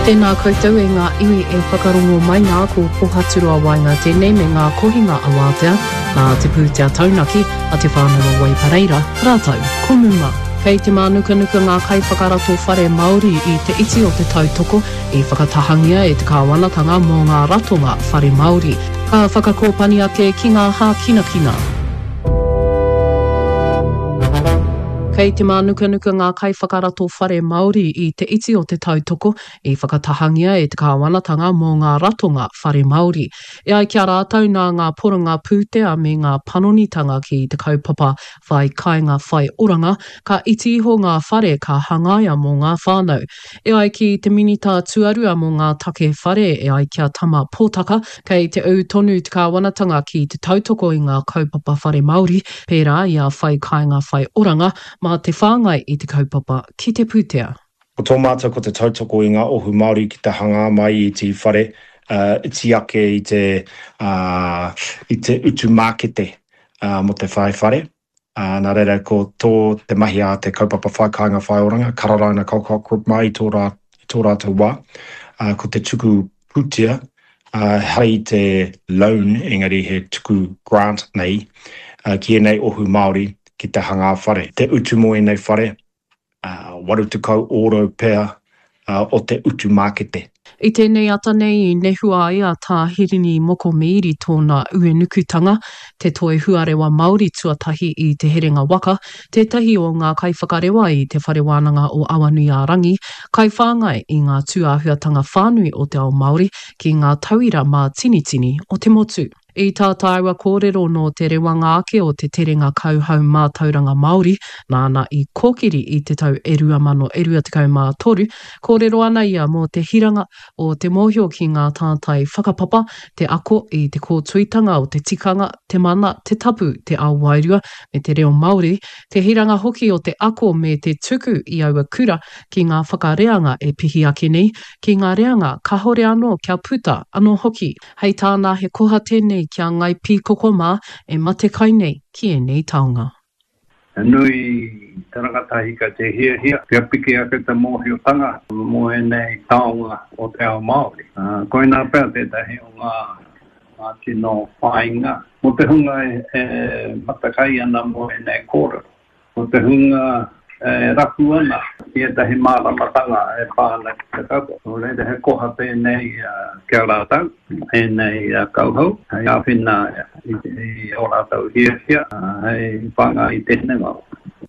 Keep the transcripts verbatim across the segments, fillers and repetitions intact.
Tēnā koutou e ngā iwi e whakarongo mai nā ko Pohaturoa Waenga tēnei me ngā kohinga awātea nā te pūtea taunaki a Te Whānau o Waipareira rātou ko Muma. Kei te mānukanuka ngā kaiwhakarato whare Māori i te iti o te tautoko i whakatahangia e te kāwanatanga mō ngā ratonga whare Māori. Ka whakakōpani ake ki ngā hākinakina. Kei te mānukanuka ngā kaiwhakarato whare Māori i te iti o te tautoko i whakatahangia e te kāwanatanga mō ngā ratonga whare Māori. E ai ki a rātou nā ngā poronga pūtea me ngā panonitanga ki te kaupapa whai kāinga whai oranga, ka iti iho ngā whare ka hangaia mō ngā whānau. E ai ki te Minita Tuarua mō ngā take whare e ai ki a Tama Potaka, kei te ū tonu te kāwanatanga ki te tautoko i ngā kaupapa whare Māori, pērā i a whai kāinga whai oranga, mā te whāngai i te kaupapa ki te pūtea. Ko tō mātou ko te tautoko i ngā ohu Māori ki te hangā mai i te whare, uh, iti ake i te, uh, i te utu mākete uh, mō te whai whare. Uh, nā reira ko tō te mahi a te kaupapa whai kāinga whai oranga, Kararaina Colcock Group mai i tō, rā, i tō rātou wā. Uh, ko te tuku pūtea, uh, hei te loan, engari he tuku grant nei, uh, ki ēnei ohu Māori ki te hangā whare. Te utu mō ēnei whare, uh, waru tekau ōrau pea uh, o te utu mākete. I tēnei ata nei i nehua ai a Tā Hirini Moko Mead i tōna uenukutanga, te toi huarewa Māori tuatahi i Te Herenga Waka, tētahi o ngā kaiwhakarewa i Te Whare Wānanga o Awanuiārangi, kaiwhāngai i ngā tūāhuatanga whānui o te ao Māori ki ngā tauira mātinitini o te motu. I tā tāua kōrero nō te rewanga ake o te terenga kauhau mātauranga Māori, nāna i kōkiri i te tau e rua mano e rua tekau mā toru, kōrero ana ia mō te hiranga o te mōhio ki ngā tātai whakapapa, te ako i te kōtuitanga o te tikanga, te mana, te tapu, te ao wairua, me te reo Māori, te hiranga hoki o te ako me te tuku i aua kura ki ngā whakareanga e pihi ake nei, ki ngā reanga kahore anō kia puta anō hoki. Hei tāna he koha tēnei ki a Ngai Pīkoko mā e matekai nei ki ēnei taonga. He nui te rangatahi ka te hiahia, kia piki ake te mōhiotanga mō ēnei taonga o te ao Māori. Uh, koinā pea tētahi o ngā, ngā tino whāinga mō te hunga e, e matakai ana mō ēnei kōrero. Mō te hunga e rapu ana i ētahi māramatanga e pā ana ki te kaupapa. Nō reira he koha tēnei uh, ki a rātou, ēnei uh, kauhau, hei āwhina i, i ō rātou hiahia, uh, hei whāngai i te hinengaro.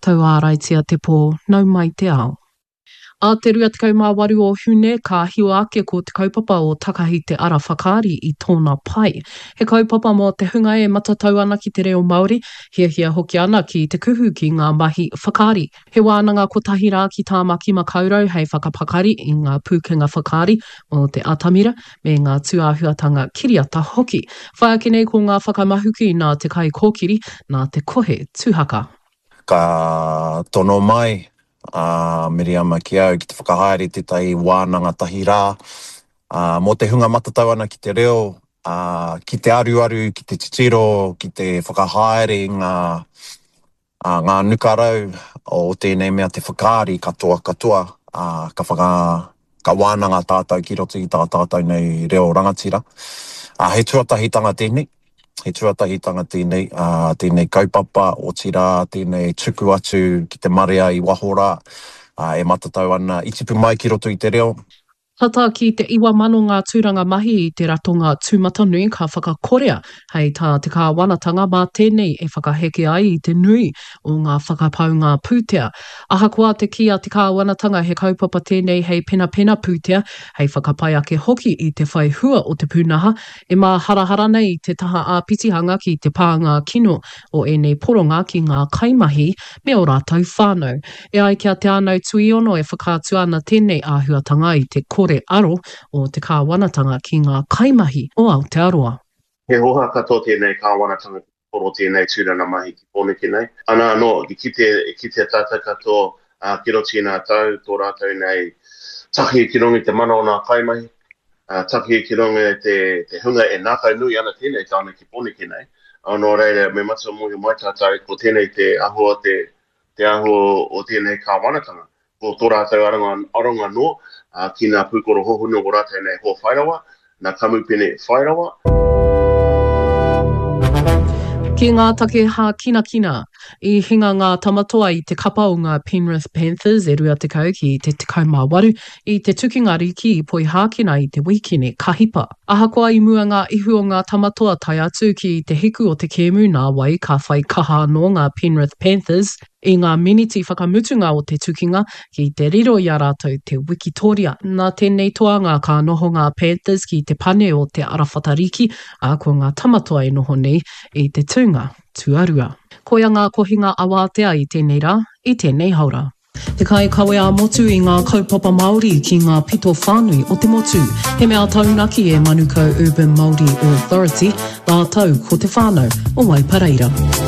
Tauāraitia te pō, nau mai te ao. A te rua tekau mā waru o Hune, ka hiwa ake ko te kaupapa o Takahi te Ara Whakaari i tōna pai. He kaupapa mō te hunga e matatau ana ki te reo Māori, hiahia hoki ana ki te kuhu ki ngā mahi whakaari. He wānanga kotahi rā ki Tāmaki Makaurau hei whakapakari i ngā pūkenga whakaari mō te atamira me ngā tūāhuatanga kiriata hoki. Whai ake nei ko ngā whakamahuki nā te kaikōkiri, nā te kohe tuhaka. Ka tono mai a Miriama ki au ki te whakahaere tētahi wānanga tahi rā, uh, mō te hunga matatau ana ki te reo, uh, ki te aruaru, ki te titiro, ki te whakahaere i ngā, uh, ngā nukarau o tēnei mea te whakaari katoa katoa, uh, ka whaka, ka wānanga tātou ki roto i tā tātou nei reo rangatira. Uh, he tuatahitanga tēnei, he tuatahitanga tēnei, uh, tēnei kaupapa, otirā, tēnei tuku atu ki te marea i waho rā, uh, e matatau ana i tipu mai ki roto i te reo. Tata ki te iwa mano ngā tūranga mahi i te ratonga tūmatanui ka whakakorea hei tā te kāwanatanga mā tēnei e whakaheke ai i te nui o ngā whakapaunga pūtea. Ahakoa te kī a te kāwanatanga he kaupapa tēnei hei penapena pūtea, hei whakapai ake hoki i te whai hua o te pūnaha, e māharahara nei te taha āpitihanga ki te pānga kino o ēnei poronga ki ngā kaimahi me ō rātou whānau. E ai ki a Te Ānau Tuiono e whakaatu ana tēnei āhuatanga i te kore aro o te kāwanatanga ki ngā kaimahi o Aotearoa. He hoha katoa tēnei kāwanatanga ki te poro tēnei tūranga mahi ki Pōneke nei. Ana anō, i kite, i kitea tātou katoa, ā, ki roto i ngā tau, tō rātou nei taki ki runga i te mana o ngā kaimahi, ā, taki ki runga i te, te hunga e ngākau nui ana tēnei tāne ki Pōneke nei. Ā, nō reira, me matua mōhio mai tātou, ko tēnei te āhua o te, te āhua o tēnei kāwanatanga. Ko tō rātou aronga, aronga nō, ā, ki ngā pūkoro hohonu o rātou nei hoa whairawa, nā kamupene whairawa. Ki ngā take hākinakina, i hinga ngā Tamatoa i te kapa o ngā Penrith Panthers e rua tekau ki te tekau mā waru i te tukinga rīki i Poihākena i te wīkene ka hipa. Ahakoa i mua ngā ihu o ngā Tamatoa tae atu ki te hiku o te kēmu nā wai ka whai kaha anō ngā Penrith Panthers I ngā miniti whakamutunga o te tukinga, ki te riro i a rātou te wikitoria. Nā tēnei toanga ka noho ngā Panthers ki te pane o te arawhata riki, ā, ko ngā Tamatoa e noho nei i te tūnga tuarua. Koia ngā kohinga awātea i tēnei rā, i tēnei haora. Te kaikawe ā-motu i ngā kaupapa Māori ki ngā pito whānui o te motu. He mea taunaki e Manukau Urban Māori Authority, rātou ko te whānau o Waipareira.